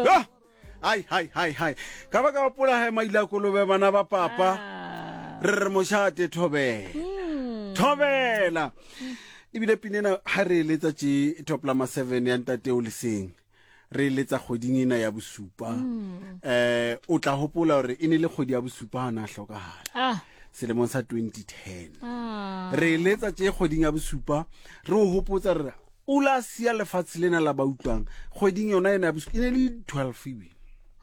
Ah! Ai, hai, hai, hai. Ka ba ka gopola he maile a kolobe bana ba papa. Ah. Re re mošate thobela. Hmm. Thobela. Ebile pina ena ha re eletsa tše top lama 7 ya ntate o leseng. Re eletsa kgweding ena ya bosupa. Hmm. Eh o tla hopola hore e ne le kgwedi ya bosupa ha na hlokahala. Ah. Selemong sa 2010. Ah. Re eletsa tše kgweding ya bosupa re o hopotsa re o la sia lefatshe lena la ba utlwang kgweding yona ena ya bosupa e ne le 12 ebile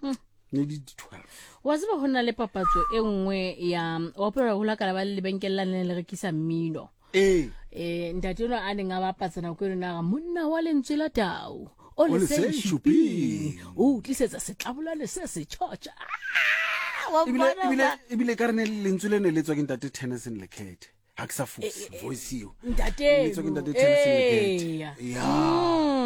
Hmm. ne le 12 wa tseba go na le papatso e nngwe ya wa polela go lakala ba le lebenkele la ne le rekisa mmino ee um ntate ono a neng a bapatsa nako eno naga monna wa lentswe la tau o O le leseng seng shuping. shuping o tlisetsa setlabolane se se tšhotšha Ah, wa ebile mpona ebile fa? ebile ka re ne lentswe le ne le tswa ke ntate Tennyson Lekhethe ga ke sa fose voice eo ntate Le tswa ke ntate Tennyson Lekhethe Eya. ya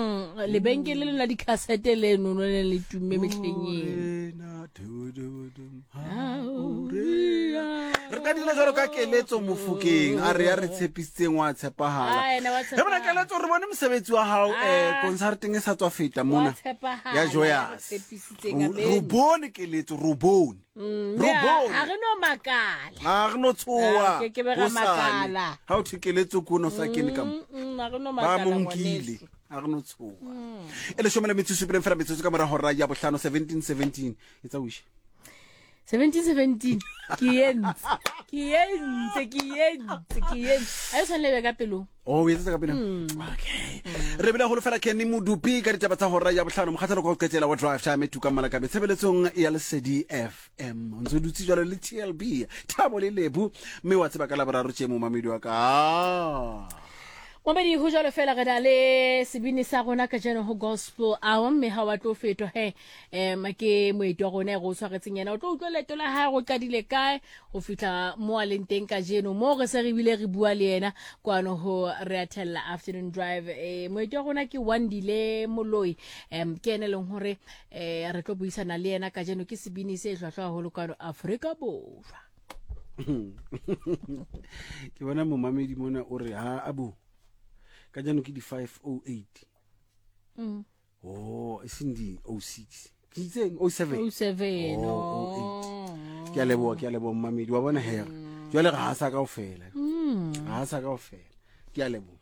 Mm, lebenkele le la dikhasete leno no le le tumme mehleng eno Morena, du- du- du- ha o re- re ka dira jalo ka keletso mofokeng a re ya re tshepisitseng wa tshepagala Ah, ena wa e bona tshepahala. keletso re bone mosebetsi wa gago um Ah. concerteng e sa tswa feta Wa mona tshepahala, ya ya re joyas tshepisitseng, re amen. bone keletso re bone Mm, re ha bone ha re no makala ga re no tshoa Ah, ke ke be ra hosane. makala. ga o thwe keletso ko no sa kene ka mo Mm, mm, ha re no ba makala mo nkile ngwaneso. ga re no tshoa e lesome le metsotso supileng fela metsotso ka morago hora ya bohlano 1717 e tsa wish 1717 ke entse ke entse ke entse ke entse a e tshwanele be ka pelong o etsetsa ka pele okay re bile golo fela kenny modupi ka ditaba tsa hora ya bohlano mokgatlhelo kwa go qetela wa drive time e tukang malakabe tshebeletsong ya lesedi fm o ntse o dutse jalo le tlb thabo le lebu mme wa tseba ka laboraro tše momamedi wa ka Momedi ho jwalo fela re na le sebini sa rona kajeno ho gospel hour mme ha wa tlo fetwa he um ke moeti wa rona e re o tshwaretseng yena o tlo utlwa leeto la hae go qadile kae go fihla mo a leng teng kajeno mo re se re bile re bua le yena kwano ho re a thella afternoon drive um moeti wa rona ke Wandile Moloi um ke ene e leng hore um re tlo buisana le yena kajeno ke sebini se hlwahlwa haholo kwano Afrika Borwa ke bona momamedi mona o re ha abo ka jano ke di 508 mm. oh e seng di 06 ke itseng 07 07 oh, 08 ke a leboha ke a leboha momamedi wa bona hera jwale ga a sa kaofela ga a sa kaofela ke a leboha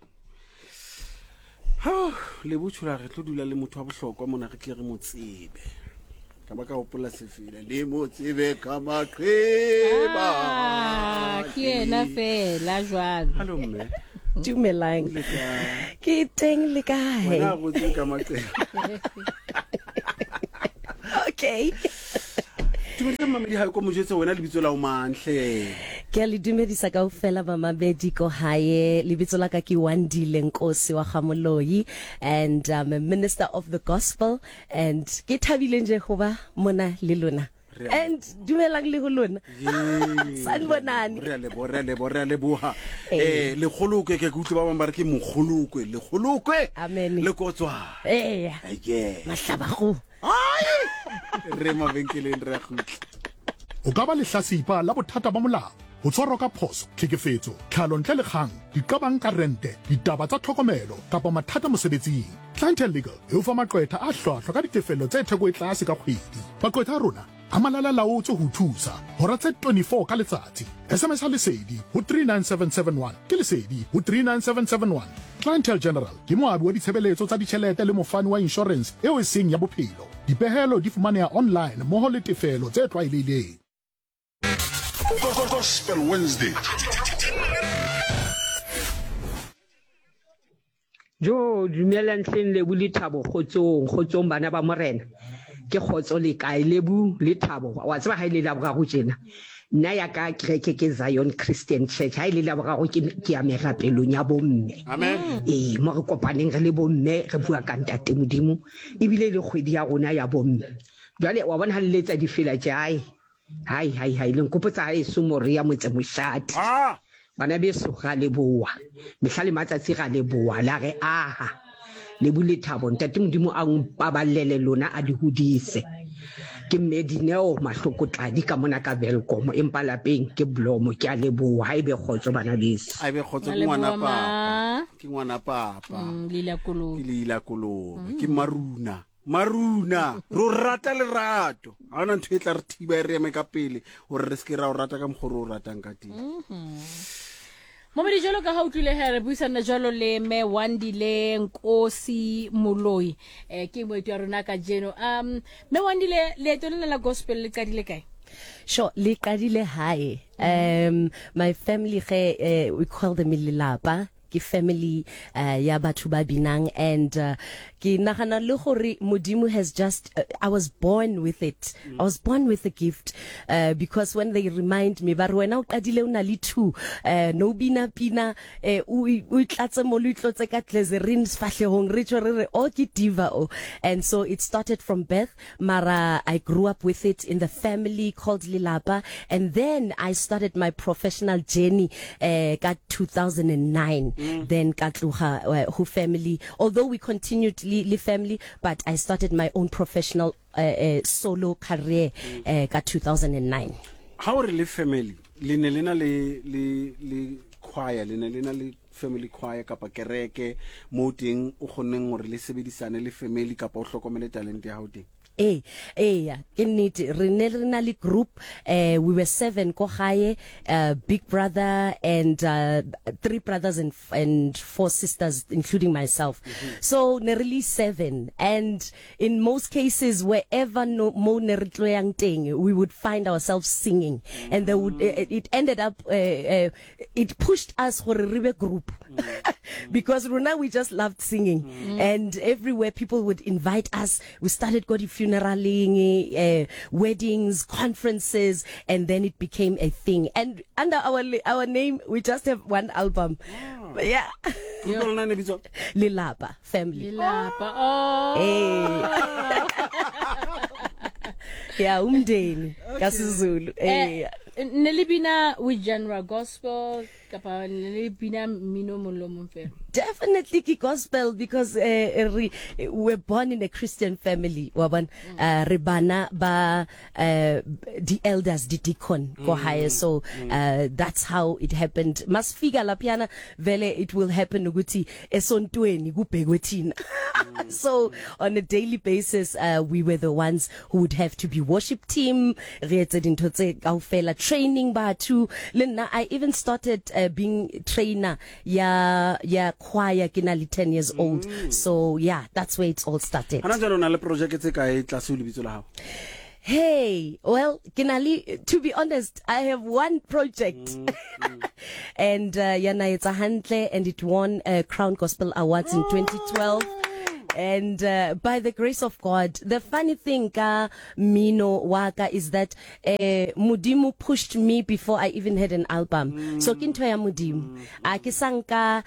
lebotshola re tlo dula le motho wa bohlokwa mona re tle re mo tsebe ka ba ka gopola sefela le mo tsebe ka maqeba Ah, ke yena fela jwalo hallo mme Dumelang. Le kae? Ke teng le kae? Wena go tsebe ka maqeba Okay. Dumedisa mamedi hae ko mojetse wena lebitso la o mantle. Ke a le dumedisa kaofela bamamedi ko hae. Lebitso la ka ke Wandile Nkosi wa Gamoloi and I'm a minister of the gospel and ke thabile nje go ba mona le lona. And dumelang le go lona. Sanibonani. Re a leboha, re a leboha, re a leboha. Eh lekgolokwe ke ke utlwe ba bang ba re ke mokgolokwe, lekgolokwe. Amen. Le kotswa. Eya. Aye. Mahlabago. Re mabenkeleng re a gutla. O ka ba lehlasipa la bothata ba molao, ho tshwarwa ka phoso, tlhekefetso, tlhalo ntle le kgang, diqabang ka rente, ditaba tsa tlhokomelo kapa mathata mosebetsing. Clientele Legal e o fa maqwetha a hlwahlwa ka ditefello tse theko e tlase ka kgwedi. Maqwetha a rona a malala-laotswe ho o thusa hora tse 24 ka letsatsi. SMS-a Lesedi ho 39771. Ke Lesedi ho 39771. Clientele General ke moabi wa ditshebeletso tsa ditjhelete le mofani wa inshorense eo e seng ya bophelo. Dipehelo di fumaneha online mmoho le tefelo tse tlwaelehileng. Gospel Wednesday. Jo, dumelang hleng Lebu le Thabo kgotsong, kgotsong bana ba Morena. Ke kgotso le kae Lebu le Thabo? Wa tseba ha ile la boraro tjena. Nna ya ka kereke ke Zion Christian Church. Ha ile la boraro ke ke ya merapelong ya bomme. Amen. Ee, mo re kopaneng re le bomme re bua ka ntate Modimo ebile le kgwedi ya rona ya bomme. Jwale wa bona ha le letsa difela tje hai. Hai hai hai le nkopotsa haeso Moria motse moshate. Ah! Bana beso ra leboha. Mehla le matsatsi ra leboha la re aha. Lebu le thabo ntate Modimo a mpaballele lona a di hodise. Ke mme Dineo Mahloko Tladi ka mona ka Welkom empa lapeng ke Blomo ke a leboha ha ebe kgotso bana beso. A ebe kgotso Ra ke ngwana leboha, papa. ma. Ke ngwana papa. Mm, Leila Kolobe. Ke Leila Kolobe. Ke Maruna. Maruna ro rata lerato ga ona ntho e tla re thiba e re eme ka pele gore re seke ra o rata ka mokgwa re o ratang ka teng. Momedi jalo ka ga utlwile he re buisana jalo le me Wandile Nkosi Moloi eh ke moeti wa rona ka jeno. Me Wandile, leeto lena la gospel le qadile kae? Sure, le qadile hae. My family ge we call them lelapa, ke family ya batho ba binang, and ke nagana le gore Modimo has just I was born with it. I was born with a gift, because when they remind me ba re wena o qadile o na le 2, no bina pina, o itlatse mo lo itlotse ka glycerin sefahlehong, re tšwe re re o ke diva o. And so it started from birth, mara I grew up with it in the family called Lelapa, and then I started my professional journey ka 2009. Then ka tloga ho family, although we continued le family, but I started my own professional solo career ka 2009. Ha o re le family, le ne le na le le le choir, le ne le na le family choir kapa kereke mo teng o kgonneng hore le sebedisane le family kapa o hlokomele talente ya hao teng? Ee, eya, ke nnete. Re ne re na le group, we were 7 ko gae, big brother and 3 brothers and and 4 sisters including myself. So ne re le 7, and in most cases wherever no, mo ne re tlo yang teng, we would find ourselves singing, and they would, it ended up, it pushed us gore re be group, because rona we just loved singing, and everywhere people would invite us. We started go di-funeraleng, weddings, conferences, and then it became a thing. And under our name, we just have one album. But yeah. Group ya lona e ne bitswa? Lelapa family. Lelapa. Oh. Ee. Yeah, umndeni ka Sezulu. Ee. Ne le bina with genre gospel kapa ne le bina mmino mong le mong fela? Definitely ke gospel, because re we're born in a Christian family, wa bona. Re bana ba di elders, di deacon ko hae, so that's how it happened. Masifika laphiyana vele it will happen ukuthi esontweni kubhekwe thina. So on a daily basis, we were the ones who would have to be worship team, re etse dintho tse kaofela, training batho. Le nna I even started being trainer ya choir ke na le 10 years old. So yeah, that's where it's all started. Hana jwale o na le projeke tse kae tlase ho lebitso la hao? Hey, well, ke na le, to be honest, I have one project. And yana etsa hantle, and it won Crown Gospel Awards in 2012. And by the grace of God, the funny thing ka mmino wa ka is that Modimo pushed me before I even had an album. So ke ntho ya Modimo. A ke sa nka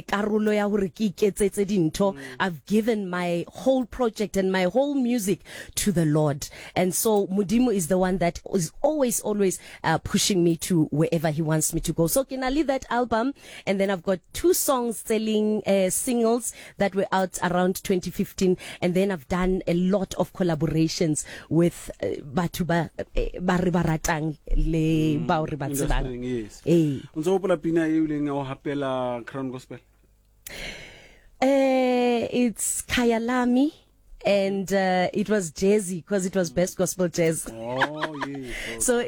karolo ya hore ke iketsetse dintho. I've given my whole project and my whole music to the Lord. And so Modimo is the one that is always, always pushing me to wherever he wants me to go. So ke na le that album, and then I've got 2 songs selling singles that were out around 2015, and then I've done a lot of collaborations with batho ba ba re ba ratang le bao re ba tsebang. Industry, yes. Ee. O ntse o hopola pina e ileng ya o hapela Crown Gospel? It's Khayalami, and it was jazzy because it was best gospel jazz. Oh, yes. So